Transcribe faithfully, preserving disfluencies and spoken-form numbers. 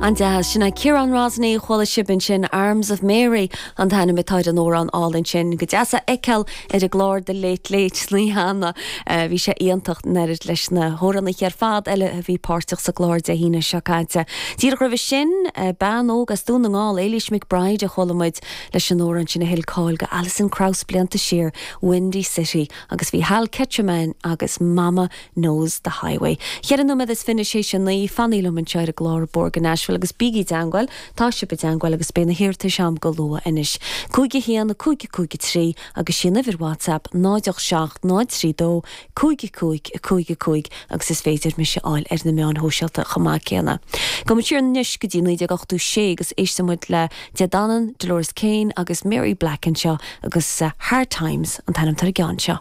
An deas sin é Ciarán Rosney chuala sibh ansin Arms of Mary an t-ainm atá ar an amhrán álainn sin go deas a fheiceáil ar an gclár The Late Late sna hAnna bhí sé iontach neir leis na hamhránaithe ar fad eile a bhí páirteach sa gclár Dé hAoine seo caite. Díreach roimhe sin bean óg as Dún na nGall Éilís McBride a chuala muid leis an amhrán sin a thuill cáil do Alison Krauss blianta siar Windy City agus bhí Hal Ketchum agus Mama Knows the Highway. Ceithre nóiméad is fiche théis a naoi fanaigí liom anseo ar an gclár Bóthar go Nashville agus bígí i dteagmháil tá sibh i dteagmháil agus beidh na hiarratais agam go luath anois. Cúig a haon cúig cúig trí agus sin uimhir WhatsApp náid seacht náid trí dó cúig cúig cúig cúig agus is féidir mise a fháil ar na meáin shóisialta chomh maith céanna. Go siar anois go dtí naoi déag ochtó sé agus éistfimid le Dé Danann, Dolores Keane agus Mary Black anseo agus uh, Hard Times an t-ainm ar an gceann seo.